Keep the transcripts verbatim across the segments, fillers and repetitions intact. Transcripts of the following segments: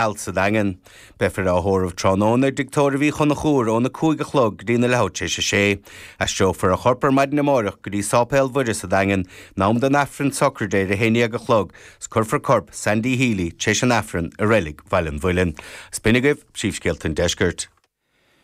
Alt sa Daingean. Beifear á thórramh tráthnóna i dTigh Tórraimh Uí Chonchúir óna cúig a chlog go dtí na leathuair tar éis a sé. Aistreofar a chorp ar maidin amárach go dtí Sáipéal Mhuire sa Daingean, in am don Aifreann sochraide ar a haon déag a chlog, 's cuirfear corp Sandy Healy tar éis an Aifrinn i Reilig Bhaile an Mhuilinn. 'S b'in agaibh príomhscéalta an deiscirt.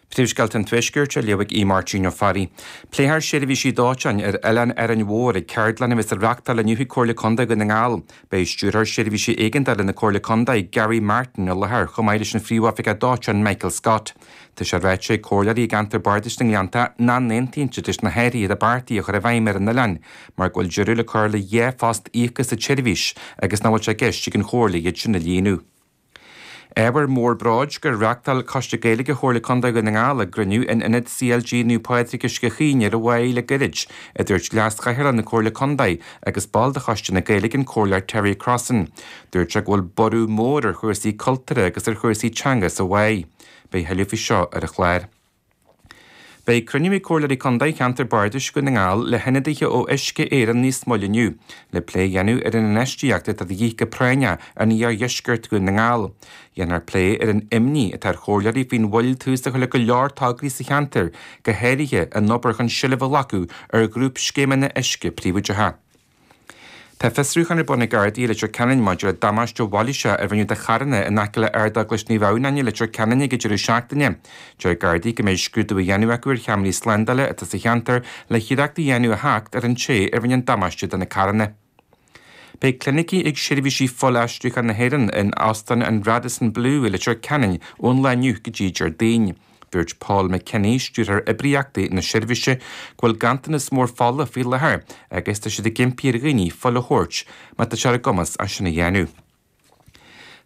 Príomhscéalta an Tuaiscirt á léamh ag Aodh Máirtín Ó Fearraigh. Pléifear seirbhísí dóiteáin ar Oileán Árainn Mhór ag ceardlann a bheas á reáchtáil inniu ag Comhairle Contae Dhún na nGall. Beidh Stiúrthóir Seirbhísí Éigeandála na Comhairle Contae, Gary Martin, i láthair chomh maith leis an Phríomhoifigeach Dóiteáin Michael Scott. Tá sé ráite ag comhairleoirí i gceantar Bardais na nGleannta nach n-aontaíonn siad leis na hathruithe atá beartaithe a chur i bhfeidhm ar an oileán mar go bhfuil deireadh le cur le dhá phost íoctha sa tseirbhís agus nach bhfuil sé i gceist ag an Chomhairle iad sin a líonadh. Ábhar mór bróid gur reáchtáil Coiste Gaeilge Chomhairle Contae Dhún na nGall a gcruinniú in Ionad CLG Naomh Pádraig Uisce Chaoin ar an Mhaigh le gairid, a dúirt Leas-Chathaoirleach na Comhairle Contae agus ball de Choiste na Gaeilge an Comhairleoir Terry Crossan. Dúirt sé go bhfuil borradh mór ar chúrsaí cultúrtha agus ar chúrsaí teanga sa Mhaigh. Beidh tuilleadh faoi seo ar an chlár. Beidh cruinniú ag Comhairleoirí Contae Cheantar Bardais Dhún na nGall le hionadaithe ó Uisce Éireann níos moille inniu, le plé a dhéanamh ar an infheistíocht atá de dhíth go práinneach in iardheisceart Dhún na nGall. Dhéanfar plé ar an imní atá ar chomhairleoirí faoin mhoill tús a chur le go leor tograí sa cheantar, go háirithe an obair chun seilbh a ghlacadh ar ghrúpscéimeanna uisce príobháideacha. Tá fiosrúchán ar bun ag Gardaí i Leitir Ceanainn maidir le damáiste mhailíseach a rinneadh do charranna in aice le Ardeaglais Naomh Adhamhnáin i Leitir Ceanainn ag an deireadh seachtaine. Deir Gardaí go mbeidh scrúdú á dhéanamh acu ar cheamaraí slándála atá sa cheantar le hiarracht a dhéanamh a theacht ar an té a rinne an damáiste do na carranna. Beidh clinicí ag seirbhísí fuilaistriúcháin na hÉireann in Óstán an Radisson Blu i Leitir Ceanainn ón lá inniu go dtí Déardaoin. Dúirt Paul McKinney, stiúrthóir oibríochtaí na seirbhíse, go bhfuil ganntanas mór fola faoi láthair agus tá siad ag impí ar dhaoine fuil a thabhairt má tá sé ar a gcumas é sin a dhéanamh.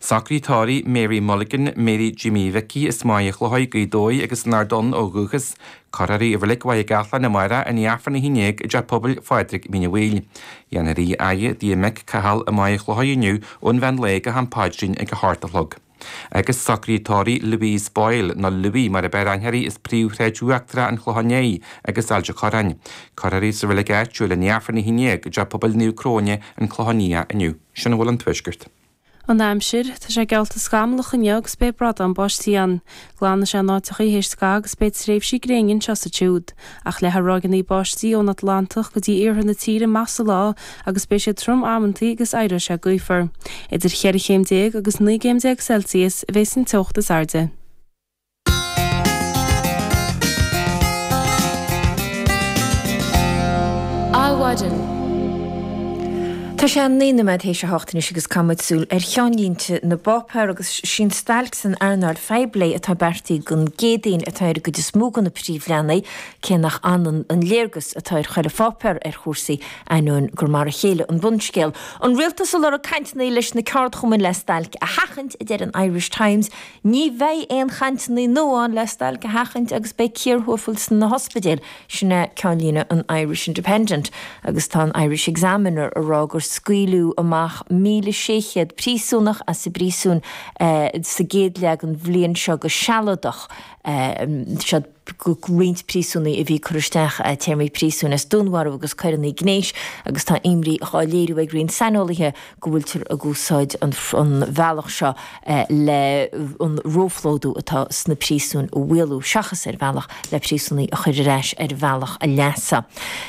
Socruithe tórraimh Mary Mulligan, Mary Jimmy Mhicí as Machaire Chlochair, Gaoth Dobhair agus an Ard Donn ó dhúchas, Cuirfear í i Reilig Mhachaire Gathlán amárach i ndiaidh Aifreann a haon déag i dTeach Pobail Phádraig Mín an Bhaoill. Dhéanfar í a fhaire i dtigh a mic Cathal i Machaire Chlochair inniu ón mheán lae go ham paidrín ag a hocht a chlog. Agus socruithe tórraimh Louise Boyle, nó Louie mar ab fhearr aithne uirthi as príomhshráid Uachtarach an Chlocháin Léith agus Ailt an Chorráin. Cuirfear í sa reilig áitiúil i ndiaidh Aifreann a haon déag i dTeach Pobail Naomh Cróine, An Clochán Liath inniu. Sin a bhfuil ón Tuaisceart. An aimsir, Tá sé geallta scamallach inniu agus beidh bradán báistí ann. Glanfaidh sé in áiteachaí théis scaitheamh agus beidh tréimhsí gréine anseo is ansiúd. Ach leathfaidh ráigeanna báistí ón Atlantach go dtí iarthar na tíre amach sa lá agus beidh siad trom amantaí agus éireoidh sé gaofar. Idir cheithre chéim déag agus naoi gcéim déag Celsius a bheas an teocht is airde. Adhmhaidin. Tá sé naoi nóiméad théis a hocht anois agus caithfidh muid súil ar cheannlínte na bpáipéar agus sí an stailc san earnáil phoiblí atá beartaithe don gCéadaoin atá ar an gcuid is mó de na príomhleathanaigh, cé nach ionann an léargas atá ar chuile pháipéar ar chúrsaí, ainneoin gur mar a chéile an bunscéal. An rialtas ag lorg cainteanna leis na ceardchumainn le stailc a sheachaint, a deir an Irish Times. Ní bheidh aon chainteanna nua ann le stailc a sheachaint agus beidh cíor thuafail sna hospidéil. Sin é ceannlíne an Irish Independent agus tá an Irish Examiner ag rá gur scaoileadh amach míle sé chéad príosúnach as an bpríosún sa gcéad leath den bhliain seo go sealadach. Siad roinnt príosúnaigh a bhí curtha isteach téarmaí príosúin as dúnmharú agus coireanna gnéis agus tá imní dhá léiriú ag roinnt saineolaithe go bhfuiltear ag úsáid an bhealach seo le an róphlódú atá sna príosúin a mhaolú seachas ar bhealach le príosúnaigh a chur ar ais ar bhealach a leasa.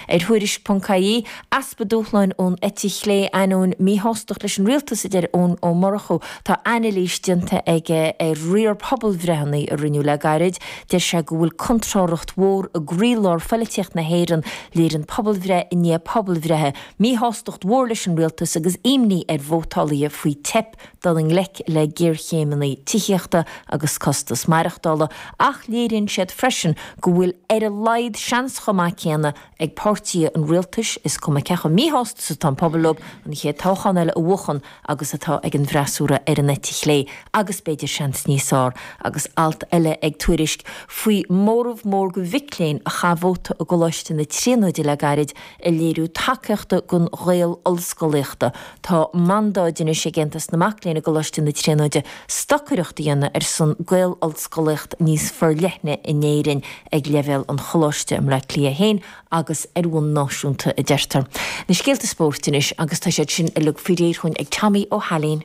Ar Thuairisc ponc ie, easpa dúshláin ón eite chlé ainneoin míshástacht leis an rialtas, a deir Eoin Ó Murchú. Tá anailís déanta aige ar riar pobalbhreitheanna a rinneadh le gairid. Deir sé go bhfuil contrárthacht mhór i gcroílár phoilitíocht na hÉireann. Léiríonn pobalbhreith i ndiaidh pobalbhreithe míshástacht mhór leis an rialtas agus imní ar vótálaithe faoi teip dul i ngleic le géarchéimeanna tithíochta agus costas maireachtála, ach léiríonn siad freisin go bhfuil ar a laghad seans chomh maith céanna ag páirtithe an rialtais, is cuma cé chomh míshásta is atá an pobal leo, an chéad toghchán eile a bhuachan agus atá ag an bhfreasúra ar an eite chlé, agus b'fhéidir seans níos fearr. Agus alt eile ag Tuairisc faoi mhóramh mór de mhic léinn a chaith vóta i gColáiste na Tríonóide le gairid ag léiriú tacaíochta don Ghael-Ollscolaíochta. Tá mandáid anois ag Aontas na Mac Léinn i gColáiste na Tríonóide stocaireacht a dhéanamh ar son Gael-Ollscolaíocht níos forleithne in Éirinn ag leibhéal an choláiste i mBleá Cliath féin agus ar bhonn náisiúnta, a deirtear. Na scéalta spóirt anois agus tá siad sin uilig faoi réir chugainn ag Tommy Ó hAilín.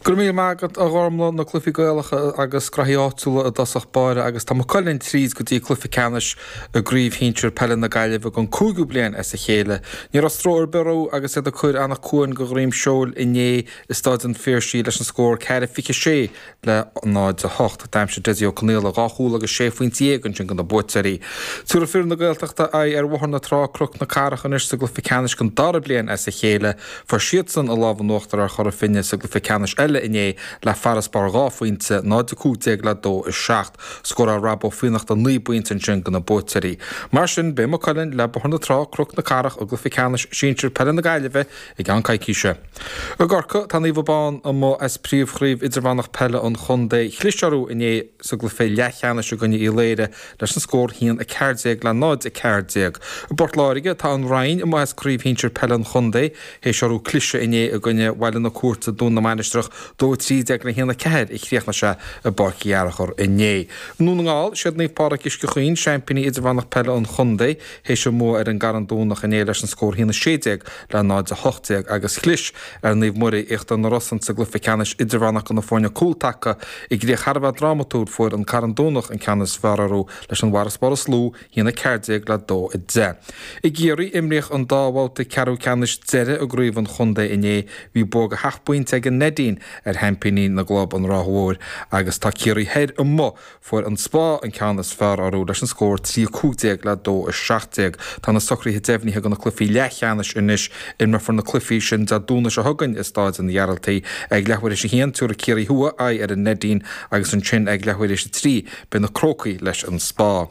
Go raibh míle maith agat a Ghormlaith, na cluichí Gaelacha agus graithí áitiúla i dtosach báire agus tá Maigh Cuilinn tríd go dtí cluiche ceannais i gCraobh Shinsir Peile na Gaillimhe don cúigiú bliain as a chéile. Ní raibh stró ar bith orthu agus iad ag cur Eanach Cuain go dhroim seoil inné i Staid an Phiarsaigh leis an scór ceathair fiche sé le náid a hocht. D'aimsigh Dessie Ó Conaola dhá chúl agus sé phointe dhéag ansin do na buaiteoirí. Tabharfaidh fir na Gaeltachta aghaidh ar Bhóthar na Trá Cnoc na Cathrach anois sa gcluiche ceannais don dara bliain as a chéile. Fuair siadsan an lámh in uachtar ar Chora Finne sa gcluiche ceannais eile inné le farasbarr dhá phointe, náid a cúig déag le dó a seacht. Scóráil Rob Ó Fiannachta naoi bpointe ansin do na buaiteoirí. Mar sin, beidh Maigh Cuilinn le Bóthar na Trá, Cnoc na Cathrach i gcluiche ceannais sinsir peile na Gaillimhe i gceann coicíse. I gCorcaigh, tá Naomh Abán amuigh as príomhchraobh idirmheánach peile an chontae. Chlis orthu inné sa gcluiche leathcheannais i gcoinne Uí Laoire leis an scór haon a ceathair déag le náid a ceathair déag. I bPort Láirge, tá an Rinn amuigh as craobh shinsir peile an chontae théis orthu cliseadh inné i gcoinne Bhaile na Cúirte, Dún na Mainistreach, dó a trí déag le haon a ceathair a chríochnaigh sé i bPáirc Uí Fhearchair inné. I nDún na nGall, siad Naomh Pádraig Uisce Chaoin, seaimpíní idirmheánach peile an chontae, théis a mbua ar an gCarn Domhnach inné leis an scór haon a sé déag le náid a hocht déag agus chlis ar Naomh Muire, Íochtar na Rosann sa gcluiche ceannais idirmheánach do na foirne cúltaca. I gcríoch thar a bheith drámatúil, fuair an Carn Domhnach an ceann is fearr orthu leis an bhfarasbarr is lú, haon a ceathair déag le dó a deich. I gCiarraí, imríodh an dá bhabhta ceathrú ceannais deiridh i gcraobh an chontae inné. Bhí bua de sheacht bpointe ag an Neidín ar sheaimpíní na gclub, an Ráth Mhóir, agus tá Ciarraí Thoir amuigh. Fuair an Spá an ceann is fearr orthu leis an scór trí a cúig déag le dó a seacht déag. Tá na socruithe deimhnithe do na cluichí leathcheannais anois. Imreofar na cluichí sin Dé Domhnaigh seo chugainn i Stáid an Ghearaltaigh. Ag leathuair théis a haon, tabharfaidh Ciarraí Thuaidh aghaidh ar an Neidín agus ansin ag leathuair théis a trí, beidh na Crócaigh leis an Spá.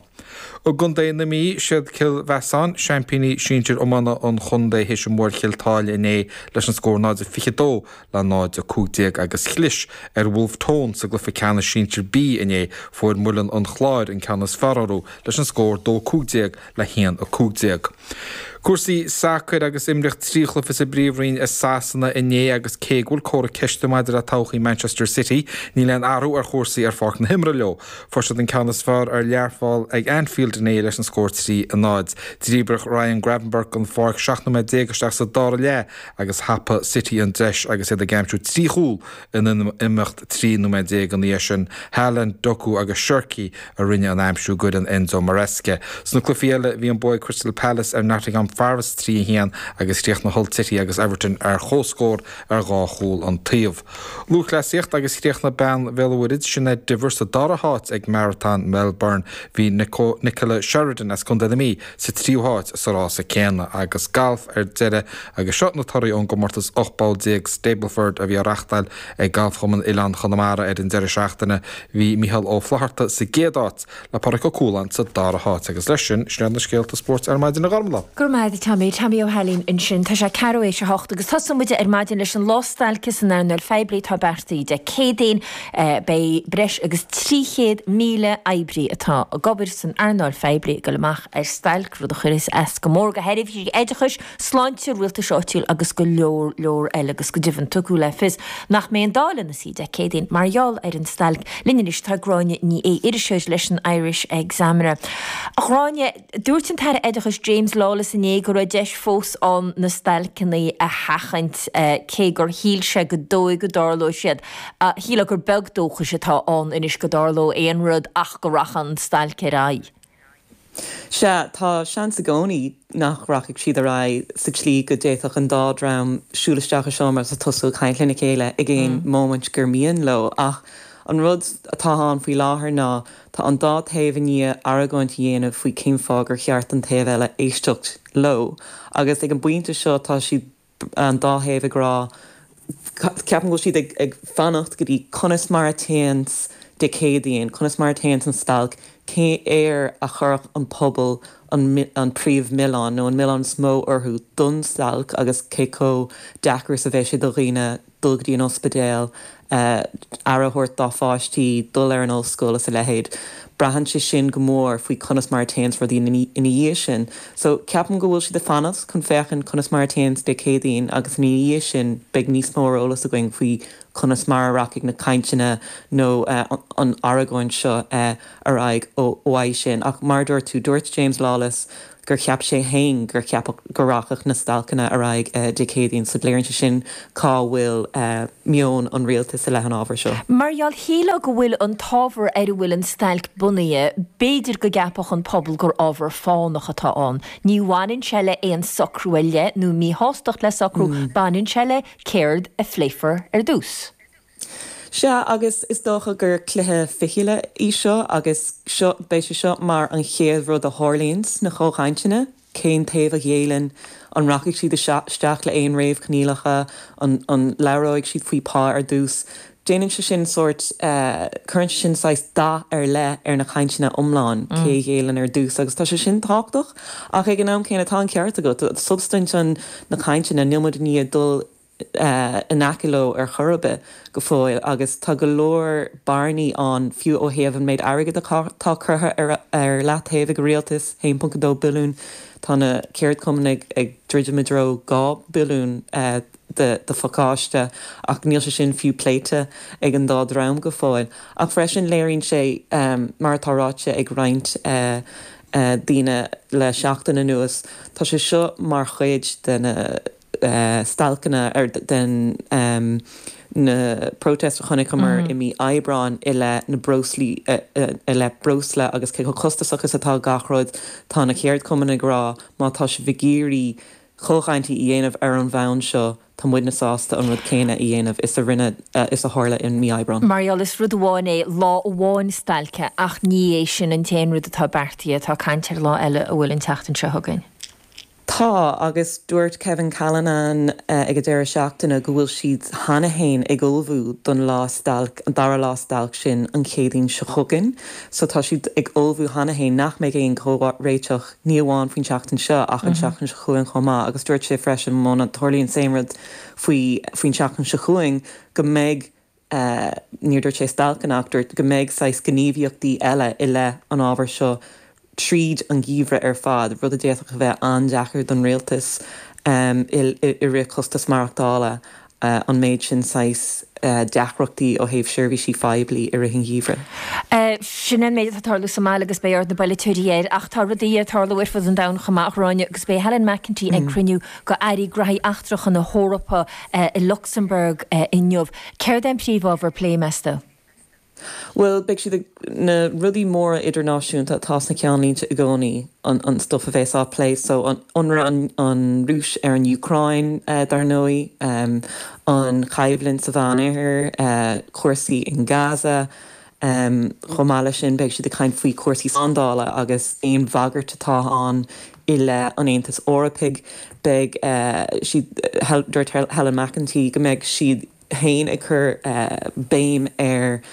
I gContae na Mí, siad Cill Mheasáin, seaimpíní sinsir iomána an chontae théis a mbua ar Chill tSáile inné leis an scór náid a fiche dó le náid a cúig déag agus chlis ar Bhulf Tón sa gcluiche ceannais sinsir B inné. Fuair Muileann an Chláir an ceann is fearr orthu leis an scór dó cúig déag le haon a cúig déag. Cúrsaí sacair agus imríodh trí chluiche sa bPríomhroinn i Sasana inné agus cé go bhfuil comhartha ceiste maidir le todhchaí Manchester City, níl aon athrú ar chúrsaí ar pháirc na himeartha leo. Fuair siad an ceann is fearr ar Learpholl ag Anfield inné leis an scór trí a náid. Dhíbir Ryan Gravenberch den pháirc seacht nóiméad déag isteach sa dara leath agus thapaigh City an deis agus iad ag aimsiú trí chúl in imeacht trí nóiméad déag ina dhiaidh sin. Haaland, Doku agus Cherki a rinne an aimsiú d'fhoireann Enzo Maresca. Sna cluichí eile, bhí an bua ag Crystal Palace ar Nottingham Forest trí a haon agus chríochnaigh Hull City agus Everton ar comhscór ar dhá chúl an taobh. Lúthchleasaíocht agus chríochnaigh bean Bhéal an Mhuirthead, Sinéad Diver, sa dara háit ag Maratón Melbourne. Bhí Nicola Sheridan as Contae na Mí sa tríú háit sa rása céanna. Agus galf ar deireadh agus seo na torthaí ón gcomórtas ocht bpoll déag Stableford a bhí á reáchtáil ag Galfchumann Oileán Chonamara ar an deireadh seachtaine. Bhí Mícheál Ó Flatharta sa gcéad áit le Pádraig Ó Cualáin sa dara háit. Agus leis sin, sin iad na scéalta spóirt ar maidin a Ghormlaith. Go raibh maith agat Tommy, Tommy Ó hAilín ansin. Tá sé ceathrú théis a hocht agus tosóidh muid ar maidin leis an lá stailce san earnáil phoiblí atá beartaithe Dé Céadaoin. Beidh breis agus trí chéad míle oibrí atá ag obair san earnáil phoiblí ag dul amach ar stailc, rud a chuirfeas as go mór do sheirbhísí oideachais, sláinte, rialtais áitiúil agus go leor leor eile agus go deimhin tugadh le fios nach mbeidh an Dáil ina suí Dé Céadaoin mar gheall ar an stailc. Linn anois tá Gráinne Ní Aodha, iriseoir leis an Irish Examiner. A Ghráinne, dúirt an tAire Oideachais James Lawless inné go raibh deis fós ann na stailceanna a sheachaint cé gur shíl sé gur dóigh go dtarlóidh siad. Shílfeá gur beag dóchais atá ann anois go dtarlóidh aon rud ach go rachaidh an stailc ar aghaidh. Sea, tá seans i gcónaí nach rachaidh siad ar aghaidh sa tslí go d'fhéadfadh an dá dhream siúl isteach i seomra agus tosú ag caint lena chéile ag aon móimint gur mian leo. Ach an rud atá ann faoi láthair ná tá an dá taobh i ndiaidh argóint a dhéanamh faoi cén fáth gur cheart don taobh eile éisteacht leo. Agus ag an bpointe seo tá siad, an dá thaobh ag rá, ceapaim go bhfuil siad ag ag fanacht go dtí conas mar a téanns Dé Céadaoin, conas mar a téanns an stailc, cé air a chuirfeadh an pobal an an príomh-mhilleán nó an milleán is mó orthu don stailc agus cé chomh deacair is a bheidh sé do dhaoine dul go dtí an ospidéal, aire a thabhairt dá pháistí, dul ar an ollscoil is a leithéid. Braitheann sé sin go mór faoi conas mar a téanns rudaí ina dhiaidh sin. So, ceapaim go bhfuil siad ag fanacht chun féachaint conas mar a téanns Dé Céadaoin agus ina dhiaidh sin beidh níos mó ar eolas againn faoi conas mar a rachaidh na cainteanna nó an argóint seo ar aghaidh ó uaidh sin. Ach mar a dúirt tú, dúirt James Lawless gur cheap sé féin gur cheapadh go rachadh na stailceanna ar aghaidh Dé Céadaoin so léiríonn sé sin cá bhfuil meon an rialtais i leith an ábhair seo. Mar gheall shílfeá go bhfuil an t-ábhar ar a bhfuil an stailc bunaithe, b'fhéidir go gceapfadh an pobal gur ábhar fánach atá ann. Ní bhaineann sé le aon socrú ar leith nó míshástacht le socrú, baineann sé le céard a phléifear ar dtús. Sea, agus is dócha gur cluiche fichille í seo agus seo, beidh sé seo mar an chéad rud a tharlaíonn sna comhchainteanna, cén taobh a ghéilleann, an rachaidh siad isteach le aon réamhchoinníollacha, an an labhróidh siad faoi pá ar dtús. Déanann sé sin sórt, cuireann sé sin saghas dath ar leith ar na cainteanna iomlán, cé a ghéilleann ar dtús agus tá sé sin tábhachtach ach ag an am céanna tá an ceart agat, substaint an na cainteanna, níl muid i ndiaidh dul in aice leo ar chor ar bith go fóill agus tá go leor bearnaí ann fiú ó thaobh an méid airgid atá curtha ar leataobh ag an rialtas, a haon ponc a dó billiún, tá na ceardchumainn ag druidim i dtreo dhá billiún de phacáiste ach níl sé sin fiú pléite ag an dá dhream go fóill. Ach freisin léiríonn sé, mar atá ráite ag roinnt daoine le seachtain anuas, tá sé seo mar chuid de na stailceanna ar den na protest a chonaiceamar i mí Aibreáin i leith na breoslaí i leith breosla agus cé chomh costasach is atá gach rud, tá na ceardchumainn ag rá má tá sibh ag iarraidh comhchaintí a dhéanamh ar an bhonn seo, tá muidne sásta an rud céanna a dhéanamh is a rinne is a tharla i mí Aibreáin. Mar gheall, is rud amháin é lá amháin stailce ach ní é sin an t-aon rud atá beartaithe, tá caint ar lá eile a bhfuil an tseachtain seo chugainn. Tá, agus dúirt Kevin Callinan ag an deireadh seachtaine go bhfuil siad cheana féin ag ullmhú don lá stailc, an dara lá stailc sin an Chéadaoin seo chugainn. So tá siad ag ullmhú cheana féin nach mbeidh aon chomhréiteach, ní amháin faoin tseachtain seo ach an tseachtain seo chugainn chomh maith. Agus dúirt sé freisin muna dtarlaíonn an same rud faoi faoin tseachtain seo chugainn go mbeidh, níor dúirt sé stailceanna ach dúirt go mbeidh saghas gníomhaíochtaí eile i leith an ábhair seo tríd an gheimhreadh ar fad, rud a d'fhéadfadh a bheith an-deacair don rialtas i rith costas maireachtála, an méid sin saghas deacrachtaí ó thaobh seirbhísí phoiblí i rith an gheimhridh. Sin an méid atá ag tarlú sa mbaile agus beidh aird na bpolaiteoirí air ach tá rudaí ag tarlú ar fud an domhain chomh maith, a Ghráinne, agus beidh Helen McEntee ag cruinniú de Airí Graithí Eachtracha na hEorpa i Lucsamburg inniu. Céard é an príomhábhar plé, meas tú? Bhuel, beidh siad ag, na rudaí móra idirnáisiúnta atá sna ceannlínte i gcónaí, an an stuff a bheas á plé, so an ionradh an Rúis ar an Úcráin, dar ndóigh, an choimhlint sa Mheánoirthear, cúrsaí in Gaza. Chomh maith leis sin, beidh siad ag caint faoi chúrsaí slándála agus aon bhagairt atá ann i leith an Aontais Eorpaigh. Beidh siad, dúirt Helen McEntee go mbeidh siad, féin ag cur béim ar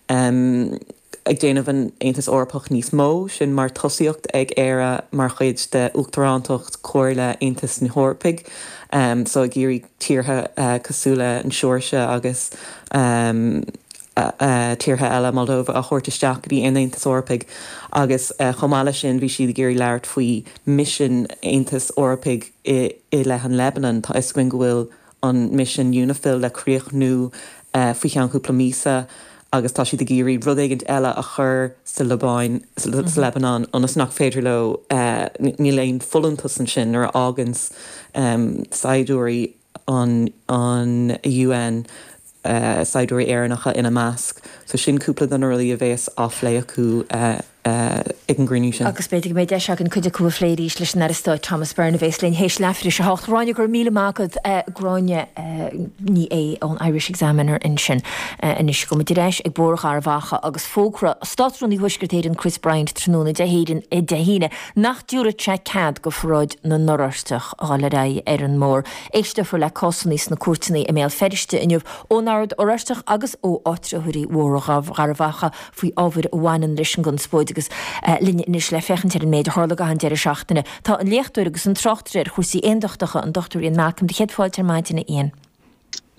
ag déanamh an Aontas Eorpach níos mó, sin mar tosaíocht ag Éire mar chuid de Uachtarántacht Chomhairle Aontas na hEorpaigh, so ag iarraidh tíortha cosúil le an Seoirsia agus tíortha eile, Moldova, a thabhairt isteach go dtí an Aontas Eorpaigh agus chomh maith leis sin bhí siad ag iarraidh labhairt faoi misean Aontas Eorpaigh i leith an Lebanon. Tá 'fhios againn go bhfuil an misean Unifil le críochnú faoi cheann cúpla míosa agus tá siad ag iarraidh rud éigint eile a chur sa Liobáin, sa Lebanon ionas nach féidir leo, níl aon folúntas ansin nuair a fháganns saighdiúirí an UN saighdiúirí Éireannacha ina measc. So sin cúpla de na rudaí a bhéas á phlé acu ag an gcruinniú sin. Agus b'fhéidir go mbeidh deis againn cuid acu a phlé arís leis an Aire Stáit Thomas Byrne a bhéas linn théis leathuair tar éis a hocht. Gráinne, go raibh míle maith agat. Gráinne Ní Aodha ón Irish Examiner ansin. Anois gabhfaidh muid ar ais ag Bóthar Gharbh Achaidh agus fógra Státrúnaí Thuaisceart Éireann Chris Bryant tráthnóna Dé hAoine nach dtabharfadh sé cead go pharáid na nOráisteach a dhul ar aghaidh ar an mbóthar. Éisteofar le cásanna sna cúirteanna i mBéal Feirste inniu ón Ord Oráisteach agus ó áitritheoirí Bhóthar Gharbh Achaidh faoi ábhair a bhaineann leis an gconspóid agus linn anois le féachaint ar an méid a tharla i gcaitheamh an deireadh seachtaine tá an léachtóir agus an tráchtaire ar chúrsaí aondachtacha, an Dochtúir Ian Malcolm. Do chéad fáilte ar maidin, a Ian.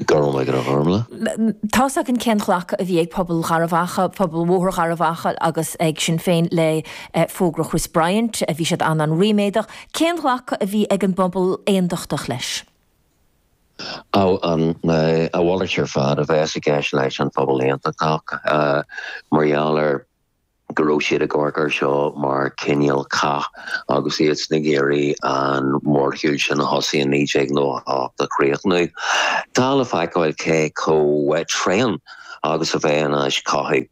Go raibh maith agat, a Ghormlaith. Tá's againn cén ghlacadh a bhí ag pobal Gharbh Achaidh, pobal Bhóthar Gharbh Achaidh agus ag Sinn Féin le fógra Chris Bryant. Bhí siad an-an-ríméadach. Cén ghlacadh a bhí ag an bpobal aondachtach leis? Á, an, a mhalairt ar fad a bheas i gceist leis an phobal aontachtach mar gheall ar go raibh siad ag amharc air seo mar cineál cath agus iad ag iarraidh an mórshiúl sin a thosaigh in naoi déag nócha a hocht a chríochnú. Tá le feiceáil cé chomh tréan agus a bheidh an cothú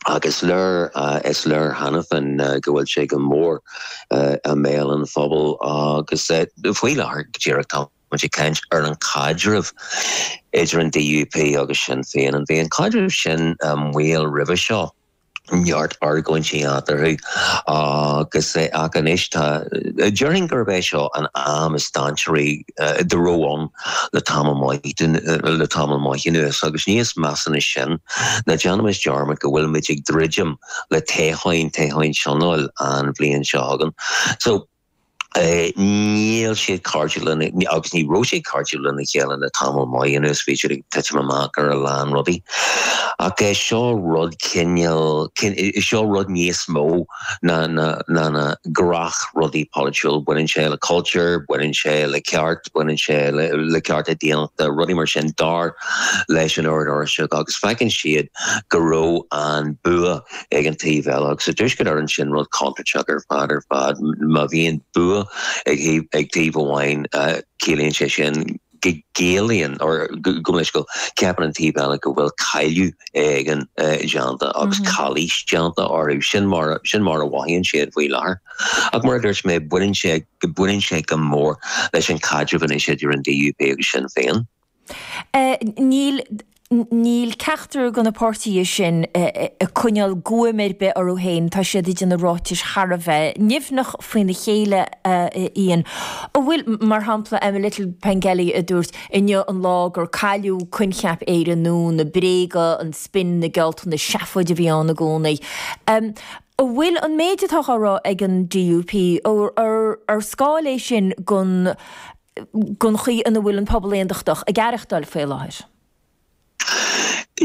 agus léir is léir cheana féin go bhfuil sé go mór i mbéal an phobail agus faoi láthair go díreach tá muid ag caint ar an caidreamh idir an D U P agus Sinn Féin. An bhí an caidreamh sin maol roimhe seo, neart argóintí eatarthu agus ach anois tá déarfainn gurb é seo an am is dainséaraí dá raibh ann le tamall maith le tamall maith anuas agus níos measa ná sin ná déanaimis dearmad go bhfuilimid ag druidim le toghcháin toghcháin tionóil an bhliain seo chugainn. So níl siad cairdiúil agus ní raibh siad cairdiúil lena chéile le tamall maith anuas, bhí siad ag titim amach ar a lán rudaí. Ach é seo rud cineál seo rud níos mó ná na na na gnáthrudaí polaitiúil, baineann sé le cultúr, baineann sé le ceart, baineann sé le, le cearta daonnachta, rudaí mar sin dar leis an Ord Oráisteach agus feiceann siad go raibh an bua ag an taobh eile agus sa Tuaisceart Éireann sin rud contúirteach ar fad ar fad má bhíonn bua ag ag taobh amháin ciallaíonn sé sin go gciallaíonn or go leis go ceapann an taobh eile go bhfuil cailleadh éigin déanta agus calaois déanta orthu sin mar sin mar a mhothaíonn siad faoi láthair. Ach mar a dúirt mé baineann sé go baineann sé go mór leis an caidreamh anois idir an D U P agus Sinn Féin. Níl Níl ceachtar de na páirtithe sin ag coinneáil guaim ar bith orthu féin, tá siad ag déanamh ráitis thar a bheith nimhneach faoina chéile Ian. An bhfuil, mar shampla, Emma Little Pengelly a dúirt inniu an lá gur cailleadh coincheap Éire nua, na bréaga, an spin, na gealltanais, seafóid a bhí ann i gcónaí. An bhfuil an méid atá á rá ag an D U P ar scáil é sin den den chaoi ina bhfuil an pobal aontachtach ag aireachtáil faoi láthair?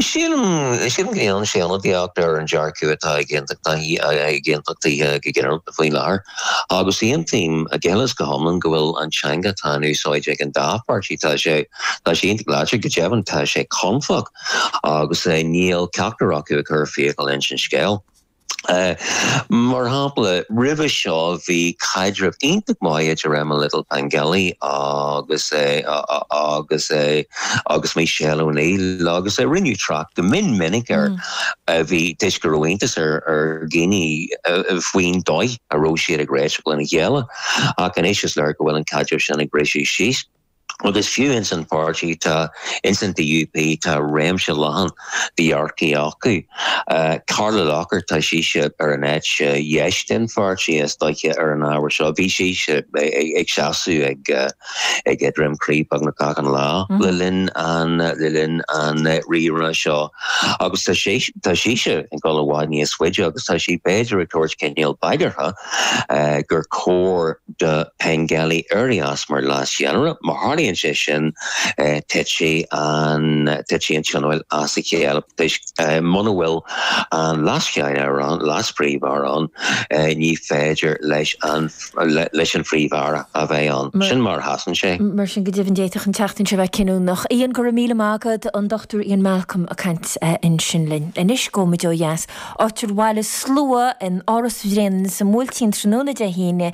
Sílim sílim go ndéanann sé ionadaíocht ar an dearcadh atá ag ag aontachtaithe go ginearálta faoi láthair. Agus aontaím go huile is go hiomlán go bhfuil an teanga atá in úsáid ag an dá pháirtí tá sé tá sé iontach láidir, go deimhin tá sé confach agus níl ceachtar acu ag cur fiacail leis an scéal. Uh, mar shampla roimhe seo bhí caidreamh iontach maith idir Emma Little Pengelly agus é agus é agus Michelle O'Neill agus é rinneadh trácht go mion minic ar mm. bhí toisc go raibh iontas ar ar dhaoine faoin dóigh a raibh siad ag réiteach lena chéile ach anois is léir go bhfuil an caidreamh sin ag briseadh síos. Agus fiú ins an pháirtí tá ins an D U P tá réimse leathan de dhearcthaí acu. Uh, Carla Lockhart tá sise ar an eite dheis den pháirtí is dóiche ar an ábhar seo bhí sise ag seasamh ag uh, ag Droim Crí beagnach gach lá mm. le linn an le linn an rírá seo agus tá tá sise ag dul i bhfad níos faide agus tá sí b'fhéidir ag tabhairt cineál bagartha uh, gur cóir do Pengelly éirí as mar leas-cheannaire má tharlaíonn sé sin titfidh an titfidh an tionól as a chéile muna bhfuil an leascheannaire ann leas-phríomh-aire ann ní féidir leis an leis an phríomh-aire a bheith ann sin mar sheasann sé. Mar sin go deimhin d'fhéadfadh an tseachtain seo bheith cinniúnach. Ian go raibh míle maith agat an Dochtúir Ian Malcolm ag caint ansin linn. Anois gabhfaimid ó dheas áit ar bhailigh slua in Áras Bhréanainn sa mBuailtín tráthnóna Dé hAoine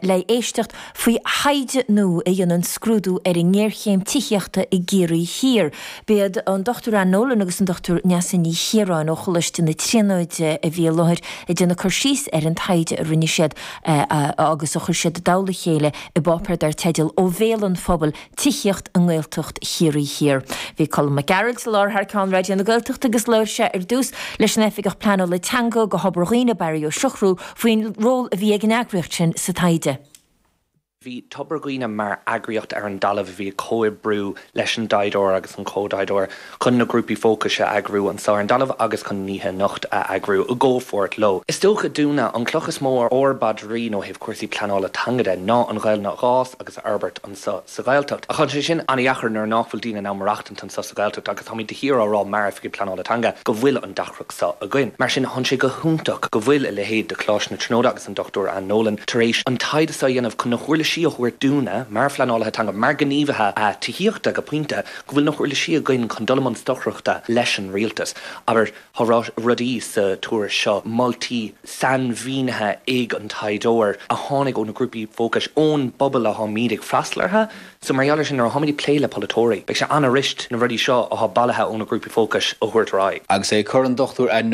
le éisteacht faoi thaighde nua a dhéanann scrúdú ar an ngéarchéim tithíochta i gCiarraí Thiar. B'iad an Dochtúir Ann Nolan agus an Dochtúir Neasa Ní Chiaráin ó Choláiste na Tríonóide a bhí i láthair ag déanamh cur síos ar an taighde a rinne siad agus a chuir siad i dtoll a chéile i bpáipéar dar teideal Ó Bhéal an Phobail, Tithíocht i nGaeltacht Chiarraí Thiar. Bhí Colm Mac Gearailt i láthair thar ceann Raidió na Gaeltachta agus labhair sé ar dtús leis an Oifigeach Pleanála Teanga do Thobar Dhuibhne Barry Ó Siochrú faoin ról a bhí ag an eagraíocht sin sa taighde. Bhí Tobar Dhuibhne mar eagraíocht ar an dtalamh a bhí ag comhoibriú leis an dtaighdeoir agus an comh-thaighdeoir chun na grúpaí fócais a eagrú anseo ar an dtalamh agus chun an oíche anocht a eagrú i gcomhpháirt leo. Is dócha dúinne an cloch is mó ar ár bpaidrín ó thaobh cúrsaí pleanála teanga de ná an Ghaelainn a fhás agus a fhorbairt anseo sa Ghaeltacht. Ach tá sé sin an-deacair nuair nach bhfuil daoine in ann maireachtaint anseo sa Ghaeltacht agus táimid de shíor á rá mar oifigigh pleanála teanga go bhfuil an deacracht seo againn. Mar sin tá sé go hiontach go bhfuil a leithéid de Choláiste na Tríonóide agus an Dochtúir Ann Nolan tar éis an taighde seo a dhéanamh chun na huirlisí huirlisí a thabhairt dúinne mar phleanálaithe teanga, mar ghníomhaithe tithíochta go pointe, go bhfuil na huirlisí againn chun dul i mbun stocaireachta leis an rialtas. Abair, tá rudaí sa tuairisc seo, moltaí sainmhínithe ag an taighdeoir a tháinig ó na grúpaí fócais, ón bpobal atáimid ag freastal orthu. So mar gheall air sin, nuair atáimid ag plé le polaiteoirí, beidh sé an-fhuirist na rudaí seo atá bailithe ó na grúpaí fócais a thabhairt ar aghaidh. Agus é ag cur an Dochtúir Anne